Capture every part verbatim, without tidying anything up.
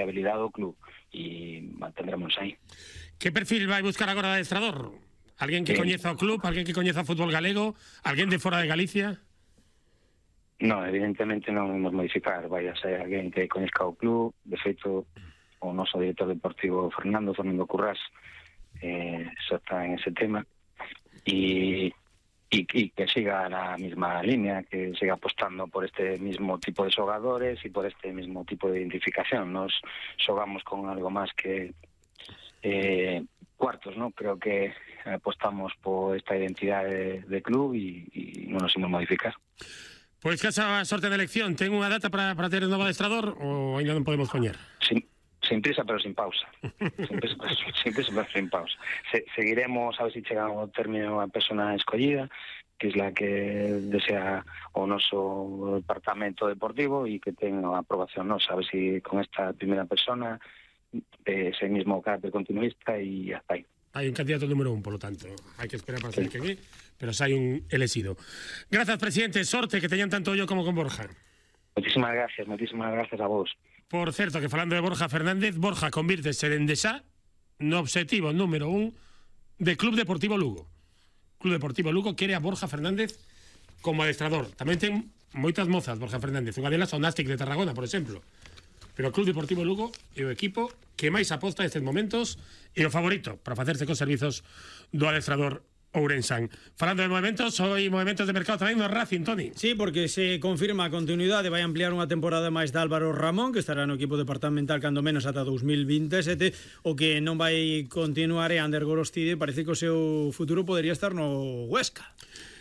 habilidade do club e mantendremos aí. Que perfil vai buscar agora de adestrador? Alguén que coñeza o club, alguén que coñeza o fútbol galego, alguén de fora de Galicia? Non, evidentemente non vamos modificar, vai a ser alguén que coñezca o club. De feito, o noso director deportivo Fernando, Fernando Currás, eh, xa está en ese tema, e Y, y que siga la misma línea, que siga apostando por este mismo tipo de xogadores y por este mismo tipo de identificación. Nos xogamos con algo más que eh, cuartos, ¿no? Creo que apostamos por esta identidad de, de club y, y non nos imos modificar. Pois que esa sorte de elección, ten unha data para, para ter un novo adestrador ou ainda non podemos poñer? Sí. Sin prisa, pero sin pausa. Sin prisa, pero sin, prisa, pero sin pausa. Se, seguiremos a ver si chegamos ao término a persona escollida, que es la que desea o noso departamento deportivo e que ten a aprobación nosa. A ver si con esta primeira persona eh, ese mismo carácter continuista e hasta aí. Hai un candidato número un, polo tanto. Hai que esperar para saber sí. quen é, pero xa hai un elegido. Grazas, presidente. Sorte, que teñan tanto yo como con Borja. Muchísimas gracias, muchísimas gracias a vos. Por certo, que falando de Borja Fernández, Borja convírtese dende xa no obxectivo número un de Club Deportivo Lugo. Club Deportivo Lugo quere a Borja Fernández como adestrador. Tamén ten moitas mozas Borja Fernández, unha delas o Nástic de Tarragona, por exemplo. Pero o Club Deportivo Lugo é o equipo que máis aposta nestes momentos e o favorito para facerse cos servizos do adestrador Ourensán. Falando de movimentos, hoy movimentos de mercado tamén no Racing, Toni. Sí, porque se confirma a continuidade, vai ampliar unha temporada máis de Álvaro Ramón, que estará no equipo departamental cando menos ata dos mil vinte e sete. O que non vai continuar é Ander Gorostide, parece que o seu futuro podería estar no Huesca.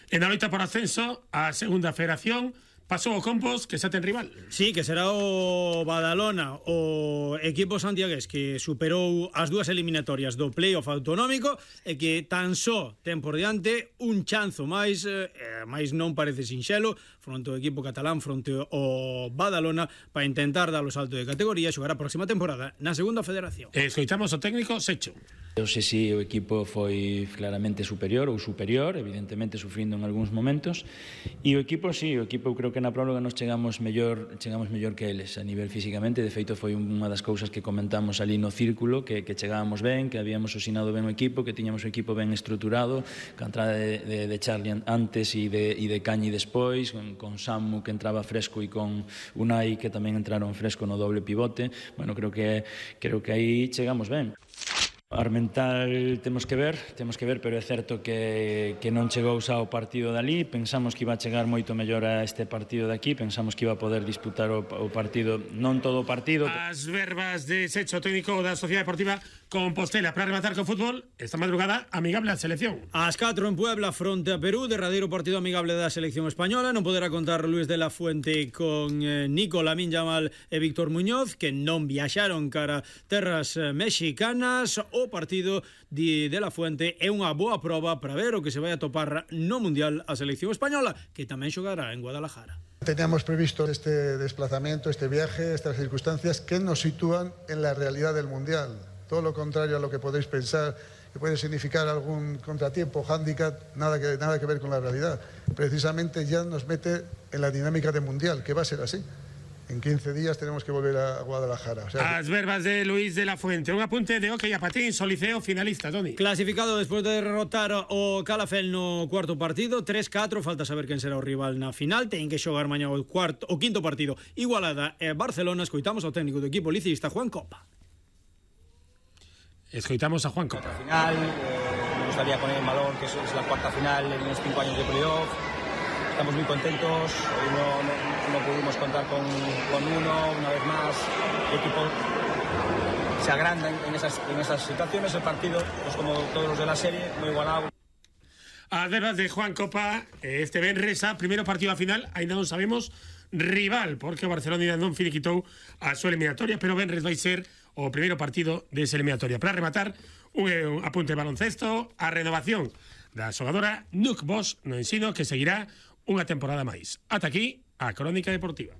En a loita por ascenso a segunda federación pasou o Compos, que xa ten rival. Sí, que será o Badalona, o equipo santiagués que superou as dúas eliminatorias do playoff autonómico e que tan só ten por diante un chanzo máis, eh, máis non parece sinxelo, fronte ao equipo catalán, fronte ao Badalona, para intentar dar o salto de categoría e xogar a próxima temporada na segunda federación. Escoitamos o técnico Secho. Non sei se o equipo foi claramente superior ou superior, evidentemente sufrindo en algúns momentos, e o equipo, sí, o equipo creo que na próloga nos chegamos mellor, chegamos mellor que eles a nivel físicamente. De feito foi unha das cousas que comentamos ali no círculo, que, que chegábamos ben, que habíamos osinado ben o equipo, que tiñamos o equipo ben estruturado, que a entrada de, de, de Charlie antes e de, e de Cañi despois, con, con Samu que entraba fresco e con Unai que tamén entraron fresco no doble pivote. Bueno, creo que creo que aí chegamos ben. Armental temos que ver, temos que ver, pero é certo que, que non chegou xa o partido dali. Pensamos que iba a chegar moito mellor a este partido de aquí, pensamos que iba a poder disputar o, o partido, non todo o partido. As verbas de Secho, técnico da Sociedade Deportiva Compostela, para rematar con fútbol esta madrugada amigable a selección. Ás catro en Puebla fronte a Perú, derradeiro partido amigable da selección española. Non poderá contar Luis de la Fuente con eh, Nico Lamín Yamal e Víctor Muñoz, que non viaxaron cara terras eh, mexicanas. O partido de, de la Fuente é unha boa proba para ver o que se vai a topar no Mundial a selección española, que tamén xogará en Guadalajara. Teníamos previsto este desplazamiento, este viaje, estas circunstancias que nos sitúan en la realidad del Mundial. Todo lo contrario a lo que podéis pensar, que puede significar algún contratiempo, hándicap, nada que, nada que ver con la realidad. Precisamente ya nos mete en la dinámica del Mundial, que va a ser así. En quince días tenemos que volver a Guadalajara. O sea, As verbas de Luis de la Fuente. Un apunte de hockey a patín, Soliceo finalista, Toni. Clasificado despois de derrotar o Calafel no cuarto partido, tres catro, falta saber quen será o rival na final. Ten que xogar mañá o cuarto o quinto partido Igualada e Barcelona. Escoitamos ao técnico do equipo licista, Juan Copa. Escoitamos a Juan Copa. Final, eh, me gustaría poner en valor que es la cuarta final en los cinco años de playoff. Estamos muy contentos, hoy no, no, no pudimos contar con, con uno, una vez más, el equipo se agranda en esas, en esas situaciones, el partido, pues como todos los de la serie, muy igualado. As verbas de Juan Copa, este Benresa, primeiro partido a final, ainda non sabemos rival, porque o Barcelona ainda non finiquitou a súa eliminatoria, pero Benres vai ser o primeiro partido desa eliminatoria. Para rematar, un, un apunte de baloncesto, a renovación da xogadora Nuc Bosch no ensino, que seguirá unha temporada máis. Ata aquí, a Crónica Deportiva.